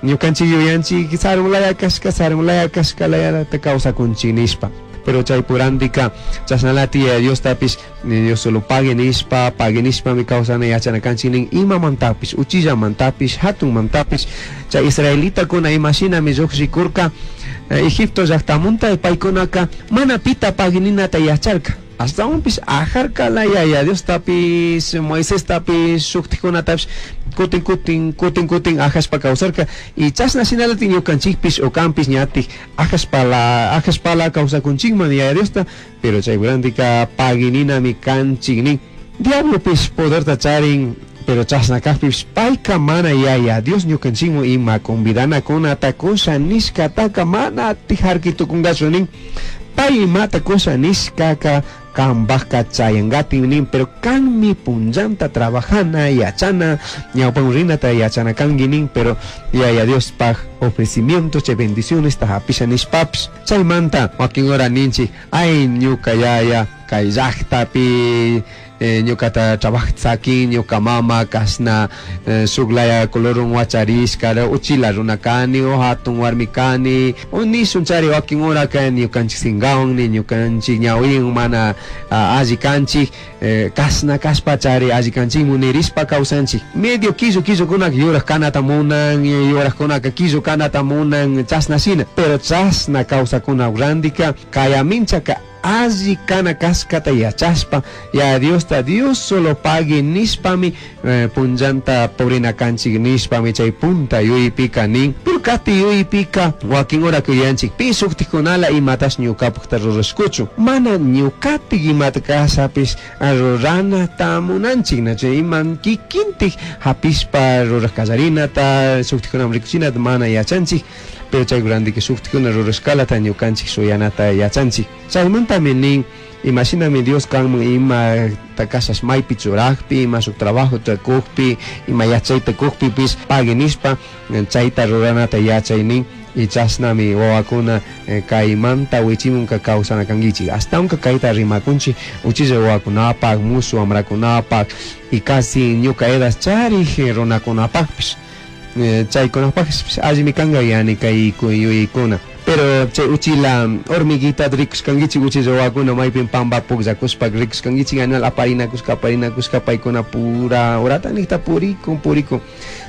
Ñukanchik yuyanchik sarun laya kashka, sarun laya kashka layata kawsakunchik nishpa. Pero chay purandika chashnalati Yaya Diostapish Dios solo pagui nishpa, pagui nishpami kawsana yachana kanchik nin imamantapish, uchillamantapish, hatunmantapish. Chay israelitakuna imashinami llujshikurka Egipto llaktamunta paykunaka mana pita pagui ninata yacharka. Ashtahuanpish ajarcala Yaya Diostapish, Moisestapish, shujtajcunatapish cutin cutin, cutin cutin ajashpa causarca. Y chashna shinallatac ñucanchijpish o canpish ñataj ajashpala, ajashpala causacunchijman Yaya Diosta, pero chai randica pagui ninami canchij nin. Diablopish poderta charin, pero chashna cajpipish paica mana Yaya Dios ñucanchijman ima convidanacunata cusha nishcataca mana jarqui tucungachu nin. Pai imata cusha nishcaca cambajca chayangatin nin, pero canmi punllanta trabajana, yachana, ñaupan rinata yachana cangui nin, pero Yaya Diospaj ofrecimiento chay bendicionesta japisha nishpapish. Chaimanta huaquin hora ninchij, ay ñuca yaya cai llajtapi ñucata trabajaj saquin, ñuca mama cashna shuj laya colorun huacharishca, uchila runa cani o jatun huarmi cani, o nishun chari huaquin horaca ñucanchij singahuan ni ñucanchij ñahuihuan mana alli canchij, cashna cashpa chari alli canchijmu nirishpa causanchij. Medio quillu quillucunaca yuraj canata munan, yurajcunaca quillu canata munan, chashna shina. Pero chashna causacuna randica cayaminchaca alli cana cashcata yachashpa, Yaya Diosta Dios solo pagui nishpami punllanta purina canchij nishpami chay punta yuypica nin. Pero cati yuypica huaquin horaca yuyanchij pi shujtajcunala imatash ñucapajta rurashcuchu. Mana ñucatik imata cashapish ruranata munanchij, nachu ima kikintik japishpa ruraj callarinata, shujtajcunaman ricuchinata mana yachanchij. Pero chay randica shujtajcuna rurashcalata ñucanchij shuyanata yachanchij. Chaimantami nin, imashinami Dios canman imata cashash maipi churajpi, ima shuj trabajota cujpi, ima yachaita cujpipish pagui nishpa chaita ruranata yachay nin. Y chashnami wawakuna caimanta wichimunca causana canguichij. Ashtahuanca caita rimacunchij uchilla wawakunapaj, mushu wamrakunapaj y casi ñuca edad charij runacunapajpish. Chaykunapajpish allimi canga yani cay yuyaykuna. Pero chay uchila hormiguita rikushkanguichik uchilla wawakuna maypin pamba pukllakushpa rikushkanguichik animal aparinakushka aparinakushka paykuna pura horata nijta purikun purikun.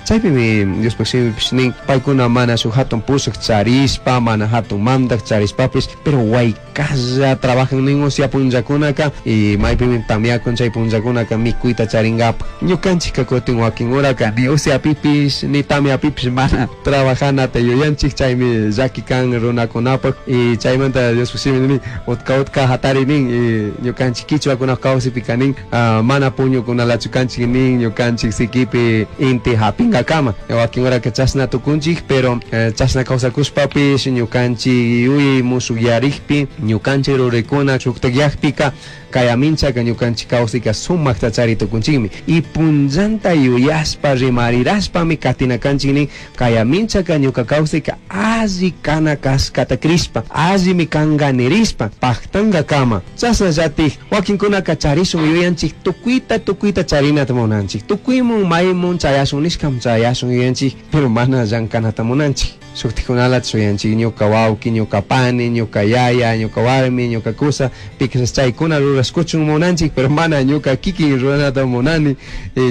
Chaypimi Diospaj shimipish nin paykuna mana shuk hatun pushak charishpa mana hatun mandak charishpapish pero waykalla trabajan nin usya punllakunaka y maypimi tamyakun chay punllakunaka mikuyta charingapaj. Ñukanchikka kutin wakin horaka ni usyapipish ni tamyapipish mana trabajanata yuyanchik chaymi llaki kan runakunapaj y chaymanta Diospaj shimi nin utka utka hatari nin y ñukanchik kichwakunapaj kawsaypika nin mana puñukunalachu kanchik nin ñukanchik sikipi inti hapingakama. Wakin horaka chashna tukunchik pero chashna kawsakushpapish ñukanchik yuyay mushukyarikpi ñukanchik ruraykuna shuktakyakpika kayaminchaka ñukanchik kawsayka sumakta chari tukunchikmi. Y punllanta yuyashpa rimarirashpami katina kanchik nin kayaminchaka ñuka kawsayka alli kana kashkata crishpa allimi kanga nirishpa pajtangakama. Chashnallatik wakinkunaka charishun yuyanchik tukuyta tukuyta charinata munanchik tukuymun maymun chayashun nishkam chayashun yuyanchik pero mana llankanata munanchik. Shuktikunalata shuyanchik ñuka wawki, ñuka pani, ñuka yaya, ñuka warmi, ñuka kusa, piquisas chaykuna rurashkuchun munanchik pero mana ñuka kikin ruranata munani,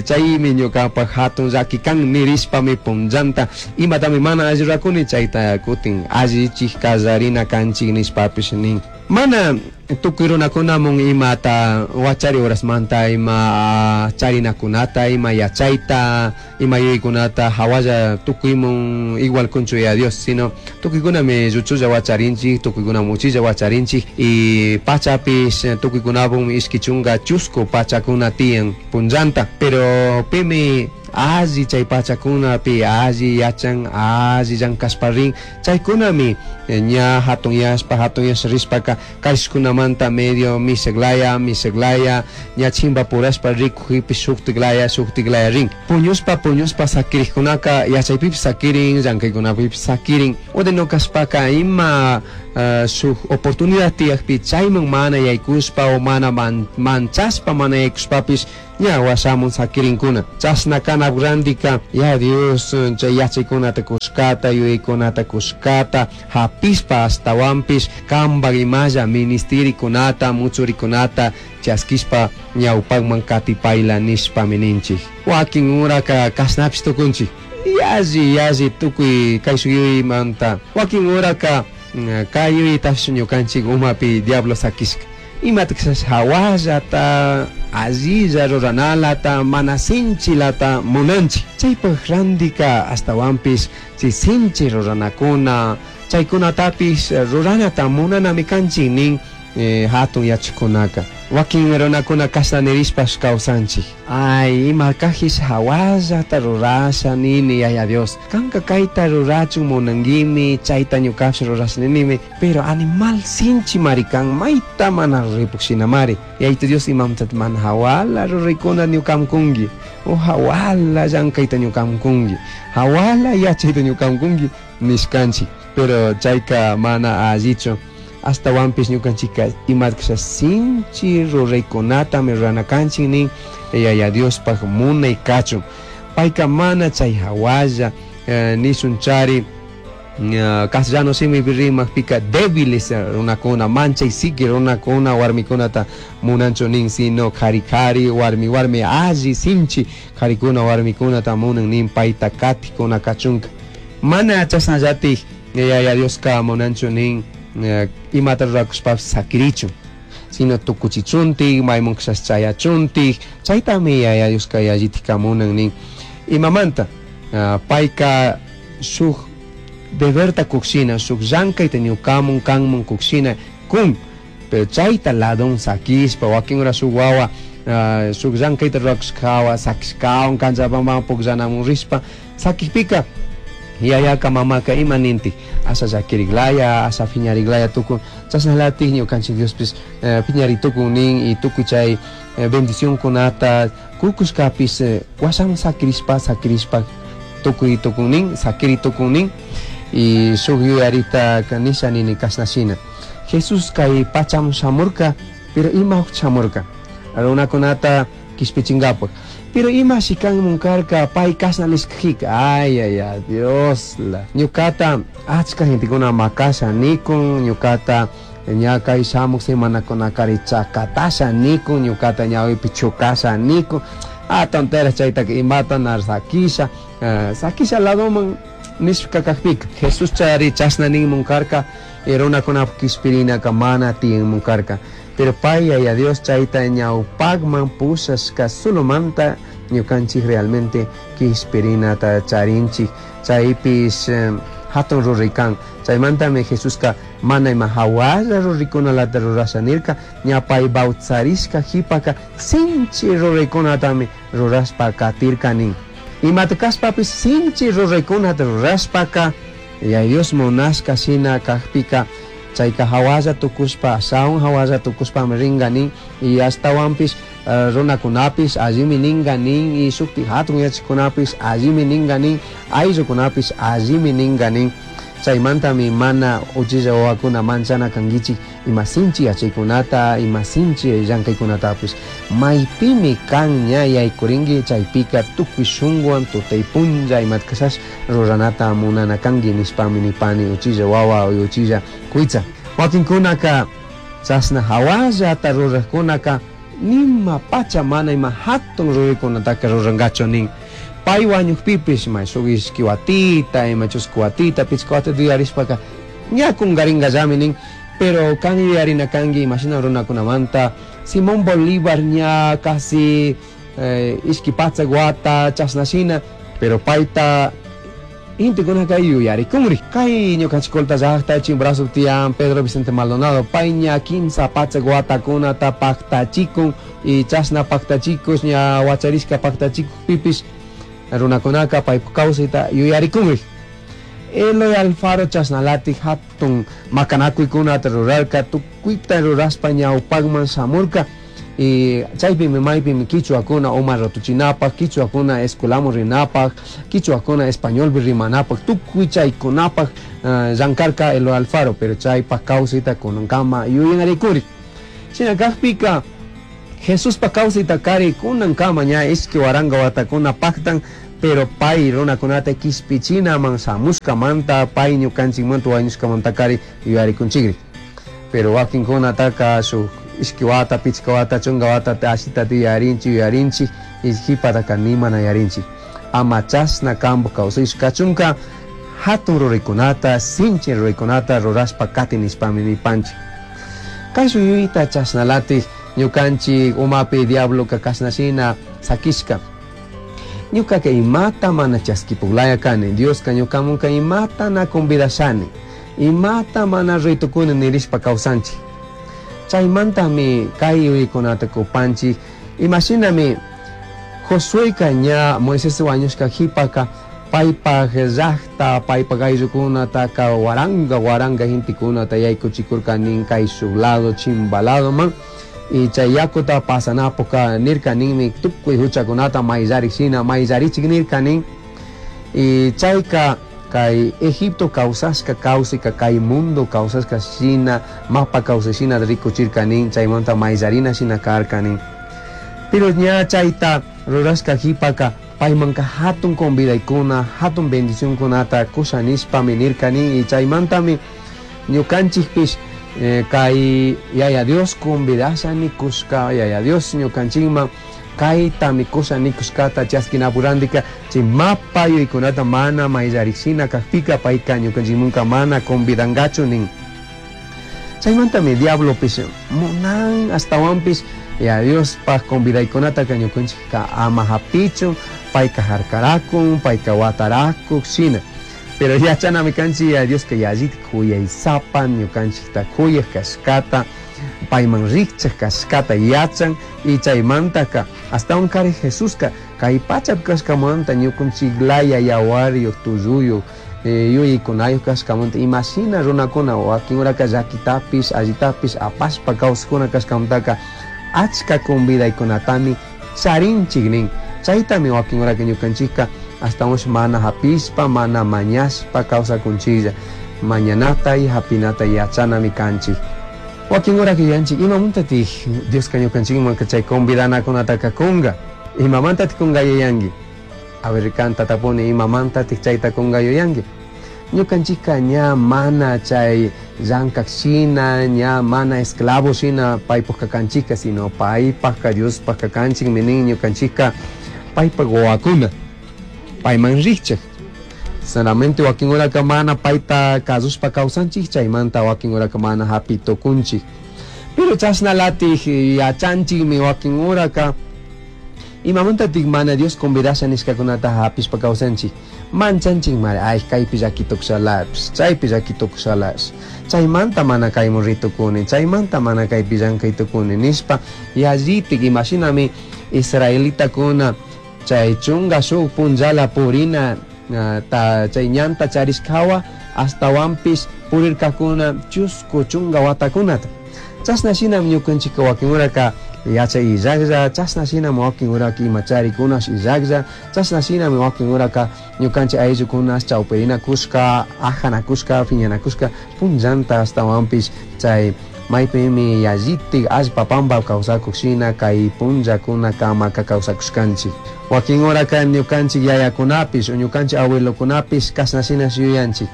chaymi ñukapaj hatun llaki kan nirishpami punllanta imatami mana alli rurakuni chayta kutin allichik kallarina kanchik nishpapish nin. Mana tukuy runakunamun imata wachari horasmanta ima charinakunata ima yachayta ima yuyaykunata hawalla tukuymun igual kunchu ya Dios sino tukuykunami lluchulla wacharinchik tukuykunami uchilla wacharinchik y pachapish tukuykunapun ishki chunka chusku pachakuna tiyan punllanta pero pimi alli chay pachakunapi alli yachan alli llankashpa rin chaykunami ña hatunyashpa hatunyashpa rishpaka kayshkunamanta medio miseklaya miseklaya ña chimpapurashpa rikujpipish shuktiklaya shuktiklaya rin. Puñushpa puñushpa sakirikkunaka yachaypipish sakirin llankaykunapipish sakirin o kashpaka ima shuk oportunidad tiyakpi chayman mana yaykushpa o mana manchashpa mana yaykushpapish Ña huashamun saquirincuna. Chashna kanapaj randica Yaya Dios chay yachaicunata cushcata, yuyaicunata cushcata japishpa ashtahuanpish cambaj imalla ministiricunata, mutsuricunata chasquishpa ñaupajman catipaila nishpami ninchij. Huaquin horaca cashnapish tucunchij. Yalli yalli tucui caishuj yuyaimanta. Huaquin horaca cai yuyaytapish ñucanchij umapi diablo saquishca. Imata cashash jahuallata, allilla ruranalata, mana sinchilata munanchij. Chaipaj randica ashtahuanpish chay sinchi ruranacuna, chaicunatapish ruranata munanami canchij nin jatun yachajcunaca. Huaquin runacuna cashna nirishpash causanchij. Ay, ima cajish jahuallata rurasha nini, Yaya Dios. Canca caita rurachun munanguimi, chaita ñucapish rurasha ninimi. Pero animal sinchimari can, maita mana ruraipuj shinamari. Yayitu Dios imamantata mana jahuala ruraicuna ñucaman cungui, o jahuala llancaita ñucaman cungui, jahuala yachaita ñucaman cungui nishcanchij. Pero chaica mana allichu. Ashtahuanpish ñucanchijca imata casha sinchi ruraicunatami rurana canchij nin Yaya Diospaj munai cachun. Paica mana chai jahualla nishun chari castellano shimipi rimajpica débiles runacuna, manchay siqui runacuna huarmicunata munanchu nin, sino cari cari, huarmi huarmi alli sinchi caricuna huarmicunata munan nin paita catijcuna cachunca. Mana chashnallataj Yaya Diosca munanchu nin imata ruracushpapish saquirichun, sino tucuchichuntik, mayman kashash chayachuntik, chaytami Yaya Diosca yallitika munan nin. Imamanta? Paica shuj deberta kukshina, shuj llankayta ñukamun kanmun kukshina kun, pero chayta ladon saquishpa, wakin hora shuj wawa shuj llankayta rurakushkawa saquishkawan canchapaman pukllanamun rishpa saquijpika yayaka mamaka ima nintik, asha llakiriklaya, asha phiñariklaya tukun, chashnalatik ñukanchik Diospish phiñari tukun nin y tukuy chay bendicionkunata kukushkapish washaman saquirishpa saquirishpa tukuy tukun nin, saquiri tukun nin. Y shuj yuyarita nisha nini kashna shina. Jesús kay pachaman shamurka, pero ima shamurka runakunata kishpichinkapak. Pero imashi kanmun karka pay kashna nishkajika, ay ay ay Dios la ñukata achka gentekuna makasha nikun, ñukata ña kay shamuk semanakunakari chakatasha nikun, ñukata ñawipi chukasha nikun, ah tonteras chaytaka imata nar sakisha, sakisha ladoman nishka kakpika Jesús chayari chashna ninmun karka, runakunapak kishpirinaka mana tiyanmun karka. Pero pay Yaya Dios chayta ñawpakman pushashka solomanta ñukanchik realmente kishpirinata charinchik, chaypish hatun ruray kan. Chaymantami Jesuska mana ima hawalla ruraykunalata rurasha nirka, ña pay bautizarishka jipaka sinchi ruraykunatami rurashpa katirka nin. Imata kashpapish sinchi ruraykunata rurashpaka Yaya Dios munashka shina kakpika chayka hawalla tukushpa, ashawan hawalla tukushpami ringa nin, y ashtawanpish runakunapish allimi ninga nin, y shukti hatun yachajkunapish allimi ninga nin, ayllukunapish allimi ninga nin. Chaymantami mana uchilla wawakuna manchana kankichik ima sinchi yachaykunata, ima sinchi llankaykunatapish. Maypimi kan ña yaykurinki chaypika tukuy shunkuwan tutay punlla imata kashash ruranata munana kanki nishpami nipani uchilla wawa uchilla kuytsa. Wakinkunaka chashna hawallata rurajkunaka nima pacha mana ima hatun ruraykunataka rurankachu nin. Pay wañukpipish may shuk ishki watita, ima chusku watita, pichka watita yuyarishpaka ña kunkarinkallami nin. Pero kan yuyarina kanki imashina runakunamanta Simón Bolívar ña casi ishki patsak wata chashna shina, pero payta intikunaka yuyarikunri. Kay ñukanchik Colta llaqta Chimborazo tiyan Pedro Vicente Maldonado pay ña kimsa patsak watakunata paktachikun y chashna paktachikush ña wacharishka paktachikukpipish runakunaka paypak kawsayta yuyarikunri. Eloy Alfaro chashnalatik hatun makanakuykunata rurarka, tukuyta rurashpa ñawpakman shamurka y chaypimi maypimi kichwakuna uma ratuchinapak, kichwakuna escuelaman rinapak, kichwakuna españolpi rimanapak, tukuy chaykunapak llankarka Eloy Alfaro, pero chaypak kawsayta kunankama yuyanarikuri. Shina kakpika Jesuspa kawsaytakari kunankama ña 2000 watakuna paktan, pero pay runakunata kishpichinaman shamushkamanta, pay ñukanchikmanta wañushkamantakari yuyarikunchikri. Pero wakinkunataka shuk 2 wata, 5 wata, 10 wata ashitata yuyarinchik, yuyarinchik, y jipataka nimana yuyarinchik. Ama chashna kampu kawsayshkachunka hatun ruraykunata, sinchi ruraykunata rurashpa kati nishpami nipanchik. Kay yuyayta chashnalatik ñukanchik umapi diabloka kashnashina sakishka. Ñukaka imata mana chaskipuklaya kani, Dioska ñukamunka imata na convidashani, imata mana raytukuni nirishpa kawsanchik. Chaymantami kay yuyaykunata kupanchik. Imashinami Josueka ña Moisés wañushka jipaka paypaj llaqta, paypaj ayllukunataka waranga waranga gentekunata yaykuchikurka nin kay shuk lado chimba ladoman. Y chay yakuta pasanapuka nirka ninmi tukuy huchakunata mayllarishina mayllarichik nirka nin. Y chayka kay Egipto kawsashka kawsayka kay mundo kawsashka shina mapa kawsashina rikuchirka nin, chaymanta mayllarina shina karka nin. Pero ña chayta rurashka jipaka paymanka hatun convidaykuna, hatun bendicionkunata kusha nishpami nirka nin. Y chaymantami ñukanchikpish kay Yaya Dios convidasha nikushka, Yaya Dios ñukanchikman kaytami kusha nikushkata chaskinapurandika chay mapa yuyaykunata mana mayllarishina kajpika payka ñukanchikmunka mana convidangachu nin. Chaymantami diablopish munan astawanpish Yaya Diospaj convidaykunataka ñukanchikka ama hapichun, payka harkarakun, payka watarakuk shina. Pero yachanami kanchik Yaya Dioska yallitik kuyaysapa ñukanchikta kuyaj kashkata, payman rikchaj kashkata yachan. Y chaymantaka astawan kari Jesuska kay pachapi kashkamanta ñukanchiklaya yawaryuq tulluyuq, yuyaykunayuq kashkamanta imashina runakuna wakin uraka llakitapish allitapish apashpa kawsakuna kashkamantaka achka convidaykunatami charinchik nin. Chaytami wakin uraka ñukanchikka astawan mana hapishpa mana mañashpa kawsakunchiklla. Mañanata y hapinata yachanami kanchik. Wakin uraka yuyanchik imamantatik Dioska ñukanchikmanka chay convidanakunataka kunga, imamantatik kunga yuyanki. A ver, kanta tapuni imamantatik chayta kunga yuyanki. Ñukanchikka ña mana chay llankak shina, ña mana esclavo shina paypajka kanchikka, sino paypajka Diospajka kanchikmi nin. Ñukanchikka paypaj wawakuna, payman rikchak. Solamente wakin uraka mana payta kasushpa kawsanchik, chaymanta wakin uraka mana hapi tukunchik. Pero chashnalatik yachanchikmi wakin uraka imamantatik mana Dios convidasha nishkakunata hapishpa kawsanchik. Manchanchik mari, ay kaypi llakitukushalapish, chaypi llakitukushalapish, chaymanta mana kaymun ritukuni, chaymanta mana kaypi llankay tukuni nishpa yallitik. Imashinami israelitakuna chay chunga shuk punllala purina ta chay ñanta charishkawa astawanpish purirkakuna chusku chunga watakunata. Chashna shinami ñukanchikka wakin uraka yachay illaklla, chashna shinami wakin uraka ima charikunash illaklla, chashna shinami wakin uraka ñukanchik ayllukunash chawpirinakushka, ajanakushka, piñanakushka punllanta astawanpish chay maypimi yallitik allpa pampa kawsakuk shina kay punllakuna kamaka kawsakushkanchik. Wakin uraka ñukanchik yayakunapish o ñukanchik abuelokunapish kashna shinash yuyanchik.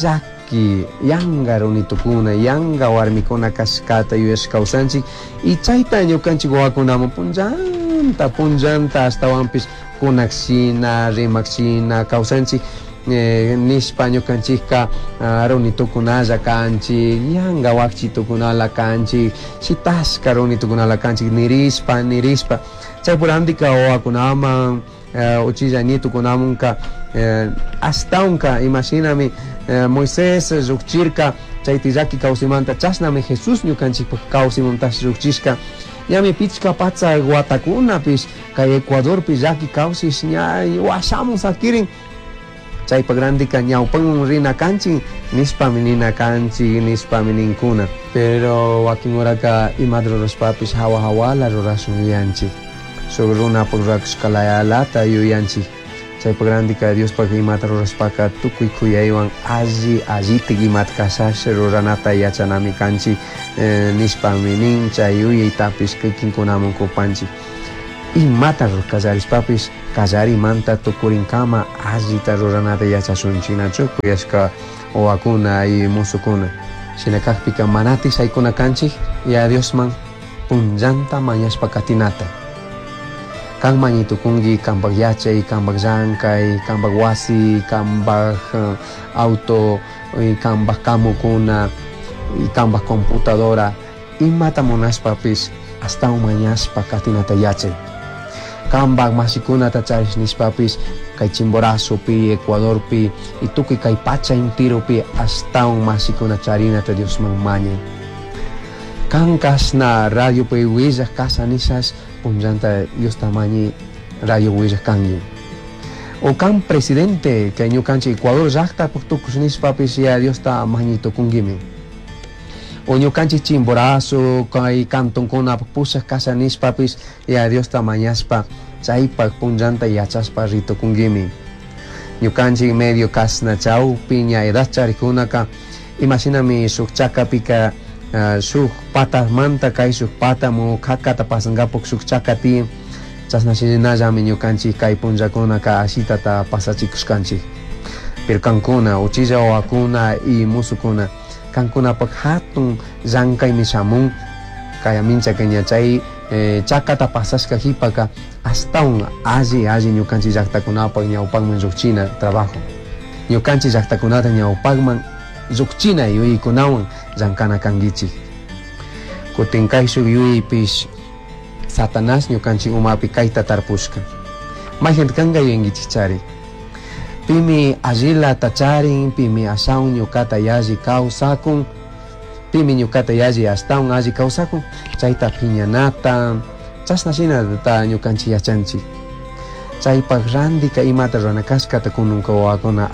Llaki yanga runitukuna, yanga warmikuna kashkata yuyash kawsanchik. Y chayta ñukanchik wawakunaman punllanta punllanta astawanpish kunak shina, rimak shina kawsanchik. Nishpa ñukanchikka runitukunalla kanchik, yanga wakchitukunala kanchik, shitashka runitukunala kanchik nirishpa nirishpa. Chaypurandika wawakunaman, uchilla nietukunamanka, ashtawanka imashinami Moisés llukchirka chay tillaki kawsaymanta, chashnami Jesús ñukanchikpak kawsaymantash llukchishka. Ñami 500 watakunapish kay Ecuadorpi llaki kawsish ña washamun sakirin. Chaypa grandika ñawpanman rina kanchik nishpami nina kanchik nishpami ninkuna. Pero wakin uraka imata rurashpapish hawa hawala rurashun yuyanchik. Shuk runapak rurakushkalayalata yuyanchik. Chaypak randika Diospak imata rurashpaka tukuy kuyaywan alli allitik imata kashash ruranata yachanami kanchik nishpami nin. Chay yuyaytapish kikinkunaman kupanchik. Imata kallarishpapish kallarimanta tukurinkama allita ruranata yachashunchik, nachu kuyashka wawakuna y musukuna. Shina kakpika manatik shaykuna kanchik Yaya Diosman punllanta mañashpa katinata. Kan mañay tukunki kanpak yachay, kanpak llankay, kanpak wasi, kanpak auto, kanpak kamukuna, kanpak computadora, imata munashpapish ashtawan mañashpa katinata yachay. Kanpak mashikunata charish nishpapish kay Chimborazopi, Ecuadorpi y tukuy kay pacha intiropi ashtawan mashikuna charinata Diosman mañay. Kan kashna radiopi willaj kasha nishash punllanta Diosta mañay radio willaj kanki. O kan presidente kay ñukanchik Ecuador llaktapak tukush nishpapish Yaya Diosta mañay tukunkimi. O ñukanchik Chimborazo kay cantonkunapak pushak kasha nishpapish Yaya Diosta mañashpa chaypak punllanta yachashpa ritukunkimi. Ñukanchik medio kashna chawpi ña edad charikkunaka imashinami shuk chakapika shuk patamanta kay shuk patamu kakata pasankapak shuk chaka tiyan, chashna shinallami ñukanchik kay punllakunaka ashitata pasachikushkanchik. Pero kankuna uchilla wawakuna y musukuna kankunapak hatun llankaymi shamun kay minchaka ña chay chakata pasashka jipaka ashtawan alli alli ñukanchik llaktakunapak ñawpakman llukchina trabajo. Ñukanchik llaktakunata ñawpakman llukchina yuyaykunawan llankana kankichik. Kutin kayshuk yuyaypish Satanás ñukanchik umapi kayta tarpushka. Mayjanta kanka yuyankichik chari. Pimi allilata charin, pimi ashawan ñukata yalli kawsakun, pimi ñukata yalli ashtawan alli kawsakun, chayta piñanata, chashna shinata ñukanchik yachanchik. Chaypak randika imata rurana kashkata kununka wawakuna.